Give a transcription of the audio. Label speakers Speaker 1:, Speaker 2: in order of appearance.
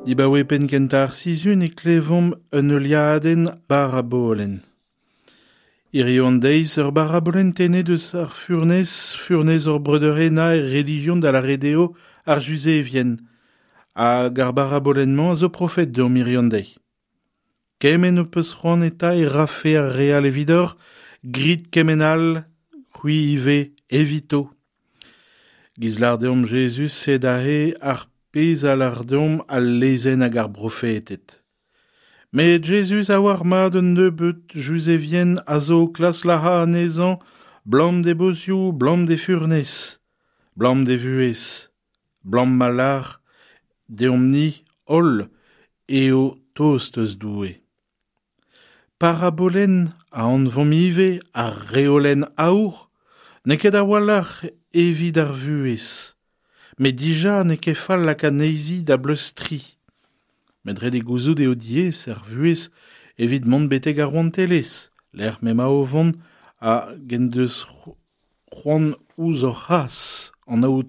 Speaker 1: Dibaoe penn kentañ ar sizhun e klevomp un heuliadenn barabolenn. Hiziv an deiz ur barabolenn tennet eus ar furnez, furnez hor breudeur henañ er relijion da lâret eo ar Juzevien. Hag ar barabolenn-mañ a zo profet deomp hiziv an deiz. Kement ho peus c'hoant eta e rafe ar re all evidoc'h, grit kement all, c'hwi ivez, evito. Giz lâr deomp Jezuz sed aze ar pezh a lâr deomp al lezenn hag ar brofeted. Met Jezuz a oar mat un nebeud Juzevien a zo o klask lazhañ anezhañ 'blam d'e bozioù, 'blam d'e furnez, 'blam d'e vuhez, 'blam ma lâr deomp-ni holl eo tost eus Doue. Parabolenn a anvomp ivez ar reolenn aour n'eo ket a-walc'h evit ar vuhez. Met dija n'eo ket fall lakaat anezhi da bleustriñ. Met ret eo gouzout eo diaes ar vuhez evit mont betek ar rouantelezh, lec'h m'emañ o vont hag en deus c'hoant ouzh hor c'has, an Aotrou.